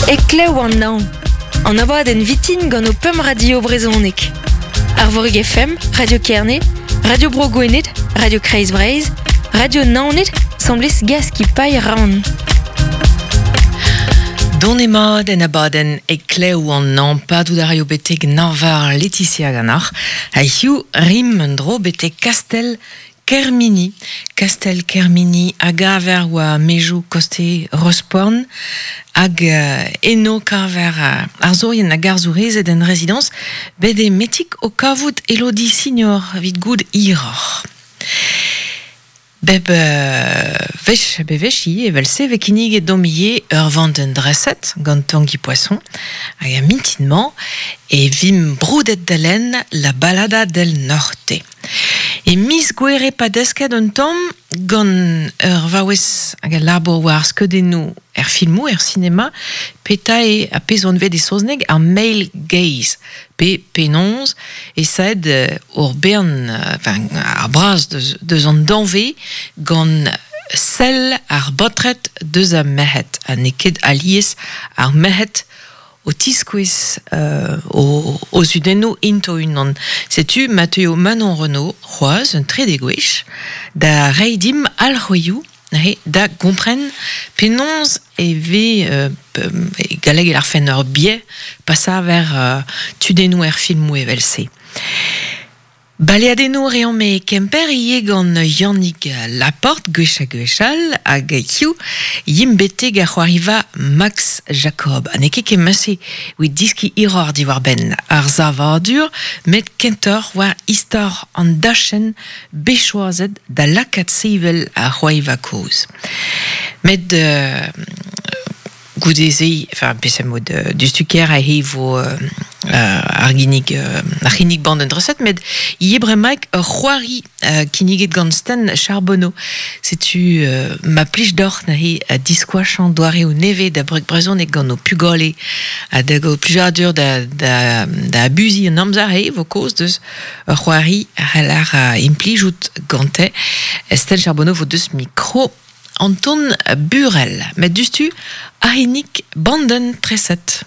Heklev an Nañv, an abadenn vitin gant ho pemp radio brezhonek. Arvorig FM, Radio Kerne, Radio Bro Gwened, Radio Kreiz Breizh, Radio Naoned, 'sambles Gaskipailh Rann. Donemat en abadenn Heklev an Nañv, padout a raio betek Nañvar Laetitia ganeoc'h. Ha hiziv rimp un dro betek Kastell Kermini, kastell Kermini a gaver war maezioù koste Rosporn hag eno kaver arzourien hag arzourezed en rezidañs bet eo Metig o kavout Elodie Signor evit goût hiroc'h. Bep wech bewech ivez evel-se e vez kinniget deomp ivez ur vandenn dreset gant Tangi Poisson hag er mintin-mañ e vimp broudet da lenn La Balada del Norte. E miz Gouere pa desket un tamm gant ur vaouez hag a labour war ar skeudennoù er filmoù, er sinema, petra eo ar pezh anvet e saozneg ar male gaze, pe penaos e saet hor bern, enfin, ar braz deus an danvez gant sell ar baotred deus ar merc'hed, ha n'eo ket alies ar merc'hed o tiskouez o zudennoù int o-unan. Setu ma teuio Manon Renaud c'hoazh un trede gwech da reiñ dimp alc'hwezioù neuze da gompren penaos e vez e galleg e lârfen ur biais pa saver tudennoù er filmoù evel-se. Baleadennoù reomp e Kemper ivez gant Yannig Laporte gwech ha gwech all hag hiziv yimp betek ar c'hoariva Max Jacob. Ha n'eo ket kement-se evit deskiñ hiroc'h diwar-benn ar savadur met kentoc'h war istor an dachenn bet choazet da lakaat sevel ar c'hoariva kozh. Met Goude-se, enfin, peseurt mod diouzhtu-kaer aze e vo ar ginnig ar c'hinnig bandenn dreset, met ivez bremaik ur c'hoari kinniget gant Sten Charbonneau. Setu ma plij deoc'h neuze diskoachañ doareoù nevez da breg brezhoneg gant ho pugale ha da gaout plijadur da, da, da abuziñ an amzer e vo kaoz deus ur c'hoari a c'heller implijout gante. Sten Charbonneau vo deus mikro Anton Burel, met diouzhtu ar c'hinnig bandenn treset.